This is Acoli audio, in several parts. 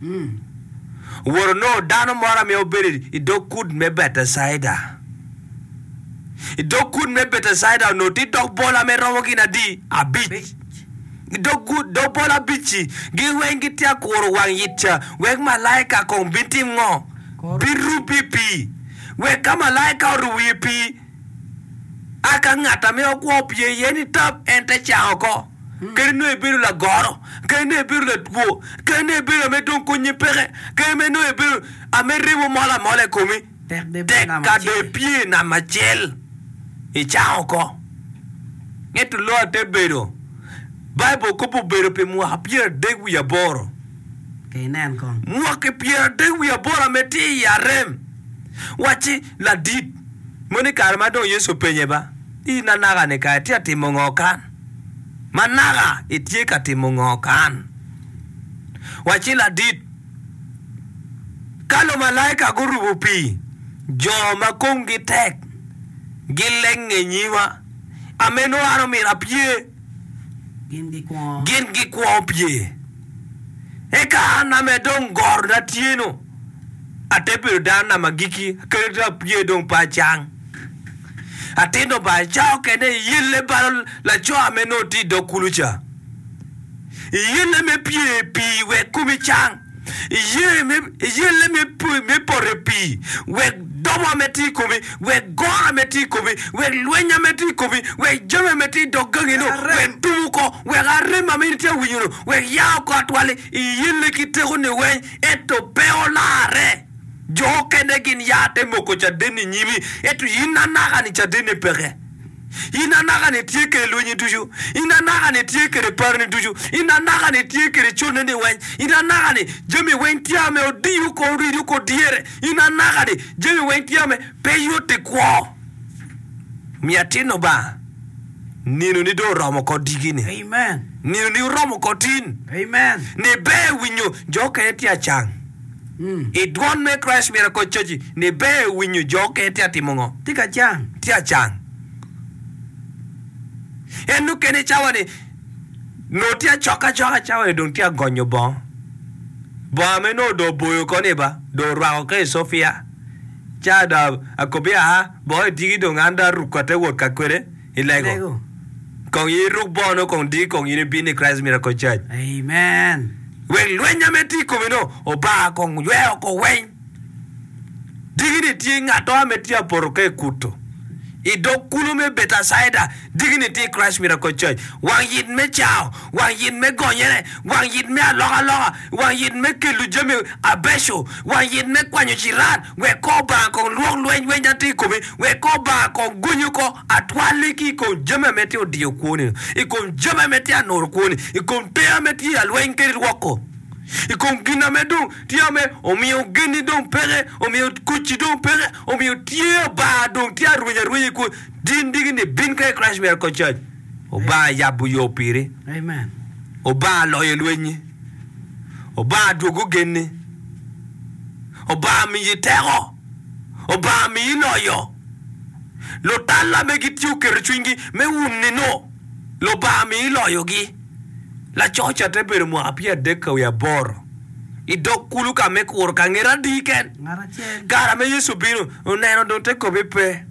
Owoto onongo dano moro ame obedo i dog kut me Betecaida. I dog kut me Betecaida onongo tye dog bol ame romo gin adi? Abic. I dog dog bol abic-ci, gin weng gitye ka kuro wang yit ca wek malaika kong bin tim ngo? Birub i pii. Wek ka malaika orubo i pii, A Ka ngat ame okwo opye iye ni tap, en te cango oko. Kadi nongo ibedo lagoro, kadi nongo ibedo latwo, kadi nongo ibedo ame dong konyi peke, kadi me nongo ibedo ame remo mol amola i komi, tek ka dong ipye i nam acel, icango oko. Ento loyo te bedo, Baibul kobo obedo pi mwaka pyeradek wiye aboro. Mwaki pyeradek wiye aboro ame tye i arem. Wacci, Ladit, mono i kare ma dong Yecu openye ba, In anaka-ni kara itye ka timo ngo kan? Ma naka itye ka timo ngo kan? Wacci, Ladit, ka lumalaika gurubo pii, jo ma komgi tek gilenge i nyima, ame nongo an omyero apye, gin gikwongo pye. Eka an ame dong gorona tye-nu, ate bedo dano nam agikki, kadi dong apye dong pe acang. Atino ba, ca okene iyelle balo laco ame nongo tye i dog kulu ca. Iyelle me pye i pii wek komi cang. Iyelle me poto i pii wek dobo ame tye i komi, wek goro ame tye i komi, wek lweny ame tye i komi, wek jami ame tye i dog gangi-nu, wek tum oko, wek arem ame in itye ka winyo-nu, wek ya oko atwal-li. Iyelle ki tekoni weng, ento pe olarre. Jo okene gin ya te moko caden i nyimi, ento in anaka-ni cadenni peke. In anaka-ni itye kwede lwenyi ducu, in anaka-ni itye kwede paroni ducu, in anaka-ni itye kwede conneni weng, in anaka-ni jami weng tye ame odiyo ko orido ko dyere, in anaka-ni jami weng tye ame pe yot i kwo. Omiyo atin Lubanga, ninoni dong oromo oko diki-ni. Ninoni oromo oko tin. Ni ber winyo jo okene tye acang. I dwon me Christ Miracle Church ni ber winyo jo okene tye atimo ngo? Tye ka cang. Tye acang. En okene cawa ni nongo tye acoka acoka cawa ni dong tye agonyo bongo. Bongo ame nongo dong oboyo oko ni ba dong orwako ka i Sofia. Ca dong akobi aa bongo i diki dong an dong aruko ate wot ka kwede i lego. Kong in iruk bongo no kong diki kong in ibin i Christ Miracle Church. Amen. Wek lwenya me tye i komi-nu obar kong yweo oko weng. Diki-ni tye ngat mo ma tye apoto ka i kuto i dog kulu me Betacaida. Diki-ni tye i Christ Miracle Church. Wang yit me cango, wang yit me gonyere, wang yit me alokaloka, wang yit me kelo jami abeco, wang yit me kwanyo ciran, wek kor Obanga kong lwok lweny weny a tye i komi, wek kor Obanga kong gonyi oko atwalli ki i kom jami ame tye odiyo kwoni, i kom jami ame tye anuro kwoni, i kom ter ame tye alweny kadi rwoko, i kom gin ame dong tye ame omiyo genni dong peke, omiyo kucci dong peke, omiyo tye Obanga dong tye arweny arwenya i kwoni. Din digi ni bin ka i Christ Miracle Church. Obanga yabo yo piri. Amen. Obanga loyo lwenyi. Obanga dwogo genni. Obanga miyi teko. Obanga miyi loyo. Lutalla me gitye oketo cwinygi me wunni nu, Lubanga miyi loyogi. Laco ca te bedo mwaka pyeradek ka wiye aboro i dog kulu ka me kuro ka ngete adi ken. Kare ame Yecu obino, oneno dong te kobe pe.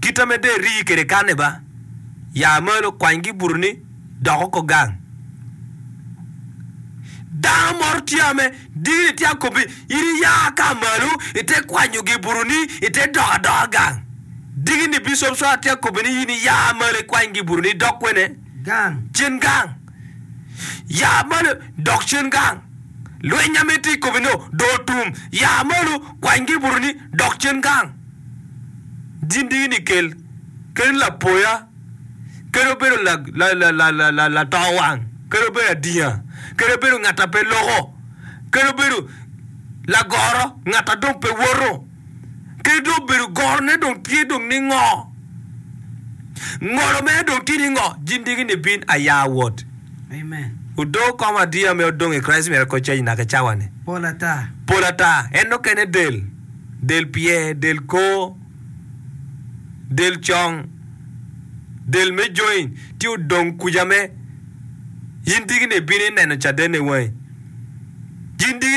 Kit ame dong eri kwede kanni ba, ya malo, kwany gibutoni, dok oko gang. Dano moro tye ame dini tye akobi, in iya ka malo ite kwanyo gibutoni ite dok adoka gang. Dini Bishop Swara tye akobi ni in iya malo ikwany gibutoni idok kwene? Gang. Cen gang. Ya malo dok cen gang. Lweny ame tye i komi no dong otum. Ya malo kwany gibutoni dok cen gang. Din dini kel kadi lapoya. Kadi obedo lato wang, kadi obedo adinga, kadi obedo ngat a pe loko, kadi obedo lagoro, ngat a dong pe woto, kadi dong obedo gorone dong tye dong ni ngo, ngolo mere dong tye ni ngo, jin diki ni bin aya wot. Amen. Odoo kom adiya me odong i Christ Miracle Church naka i cawa ni. Pol ata. Pol ata. En okene del, del pyer, del kor. del cong, del me join tye odong kuca me in tiki ni ibino ineno caden i wangi. Gin diki.